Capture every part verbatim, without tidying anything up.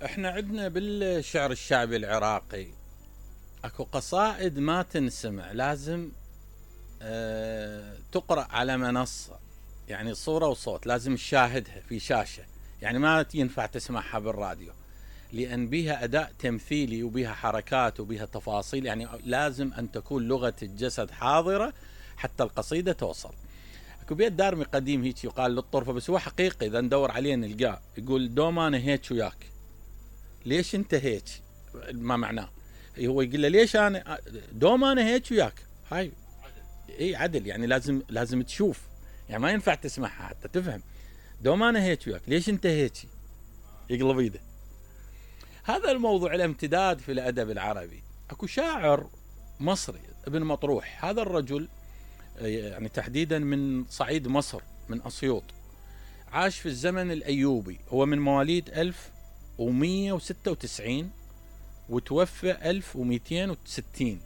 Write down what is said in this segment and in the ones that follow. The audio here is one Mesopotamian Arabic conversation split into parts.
احنا عندنا بالشعر الشعبي العراقي اكو قصائد ما تنسمع، لازم اه تقرأ على منصة، يعني صورة وصوت، لازم تشاهدها في شاشة، يعني ما ينفع تسمعها بالراديو، لأن بيها أداء تمثيلي وبيها حركات وبيها تفاصيل، يعني لازم أن تكون لغة الجسد حاضرة حتى القصيدة توصل. اكو بيت دارمي قديم هيك يقال للطرفة، بس هو حقيقي إذا ندور عليه نلقاه، يقول دوم أنا هيك وياك، ليش أنت هيك؟ ما معناه، هو يقول له ليش أنا دوم أنا هيك وياك، هاي اي عدل، يعني لازم لازم تشوف، يعني ما ينفع تسمعها حتى تفهم. دوم أنا هيك وياك، ليش أنت هيك؟ يقلب ايده. هذا الموضوع له امتداد في الأدب العربي. اكو شاعر مصري ابن مطروح، هذا الرجل يعني تحديدا من صعيد مصر، من أسيوط، عاش في الزمن الأيوبي، هو من مواليد ألف ومية وستة وتسعين وتوفى ألف ومئتين وستين،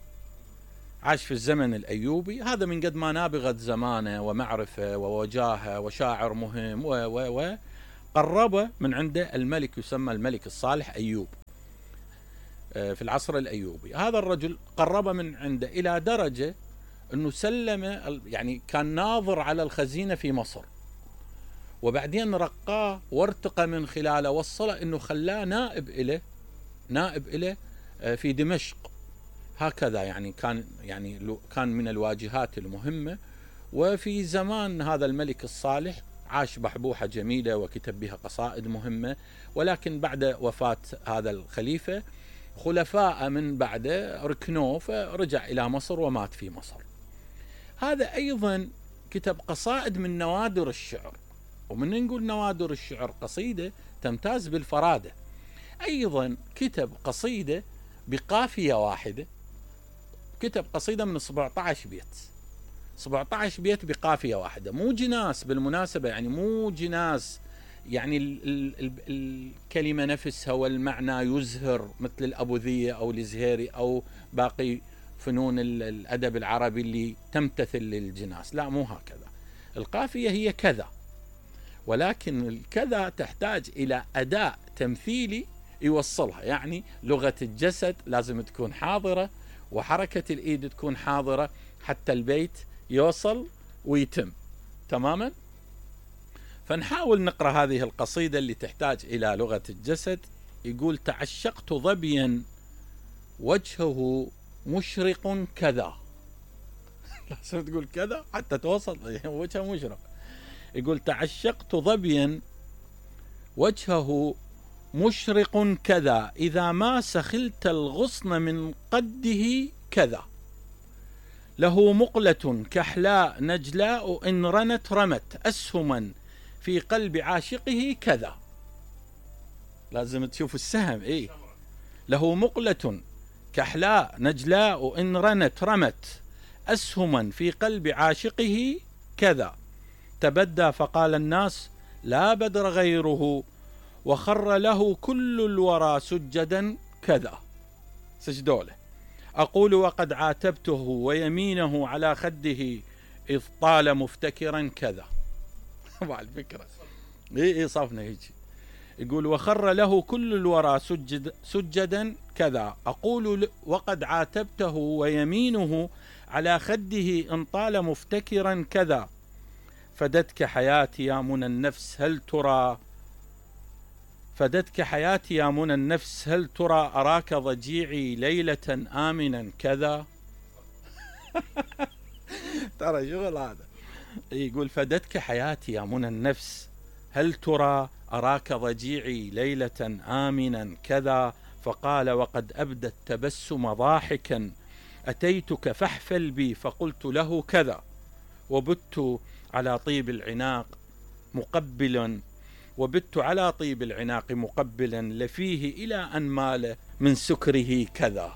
عاش في الزمن الأيوبي. هذا من قد ما نابغت زمانه ومعرفة ووجاهة وشاعر مهم و و و قرب من عنده الملك، يسمى الملك الصالح أيوب في العصر الأيوبي. هذا الرجل قرب من عنده إلى درجة أنه سلم، يعني كان ناظر على الخزينة في مصر، وبعدين رقاه وارتقى من خلاله، وصله أنه خلاه نائب إله، نائب إله في دمشق. هكذا يعني كان، يعني كان من الواجهات المهمة. وفي زمان هذا الملك الصالح عاش بحبوحة جميلة وكتب بها قصائد مهمة، ولكن بعد وفاة هذا الخليفة خلفاء من بعده ركنوه، فرجع إلى مصر ومات في مصر. هذا أيضا كتب قصائد من نوادر الشعر، ومن نقول نوادر الشعر قصيدة تمتاز بالفرادة. أيضا كتب قصيدة بقافية واحدة، كتب قصيدة من سبعة عشر بيت، سبعة عشر بيت بقافية واحدة، مو جناس بالمناسبة، يعني مو جناس، يعني ال ال ال الكلمة نفسها والمعنى يزهر مثل الأبوذية أو الزهيري أو باقي فنون الأدب العربي اللي تمتثل للجناس، لا مو هكذا. القافية هي كذا، ولكن الكذا تحتاج إلى أداء تمثيلي يوصلها، يعني لغة الجسد لازم تكون حاضرة، وحركة الإيد تكون حاضرة حتى البيت يوصل ويتم تماما. فنحاول نقرأ هذه القصيدة اللي تحتاج إلى لغة الجسد. يقول: تعشقت ظبيا وجهه مشرق كذا. لازم تقول كذا حتى توصل وجهه مشرق. يقول: تعشقت ظبيا وجهه مشرق كذا، إذا ما سخلت الغصن من قده كذا، له مقلة كحلاء نجلاء إن رنت رمت أسهما في قلب عاشقه كذا. لازم تشوف السهم. إيه، له مقلة كحلاء نجلاء إن رنت رمت أسهما في قلب عاشقه كذا، تبدى فقال الناس لا بدر غيره، وخر له كل الورى سجدا كذا. سجدوله. أقول وقد عاتبته ويمينه على خده إذ طال مفتكرا كذا. مع الفكرة إيه إيه صافنا هيك. يقول: وخر له كل الورى سجد سجدا كذا، أقول وقد عاتبته ويمينه على خده إن طال مفتكرا كذا، فدتك حياتي يا منى النفس هل ترى، فدتك حياتي يا منى النفس هل ترى، أراك ضجيعي ليلة آمنا كذا. ترى شغل هذا. يقول: فدتك حياتي يا منى النفس هل ترى، أراك ضجيعي ليلة آمنا كذا، فقال وقد أبدى التبسم ضاحكا، أتيتك فاحفل بي فقلت له كذا، وبت على طيب العناق مقبلا، وبت على طيب العناق مقبلا لفيه إلى أن مال من سكره كذا.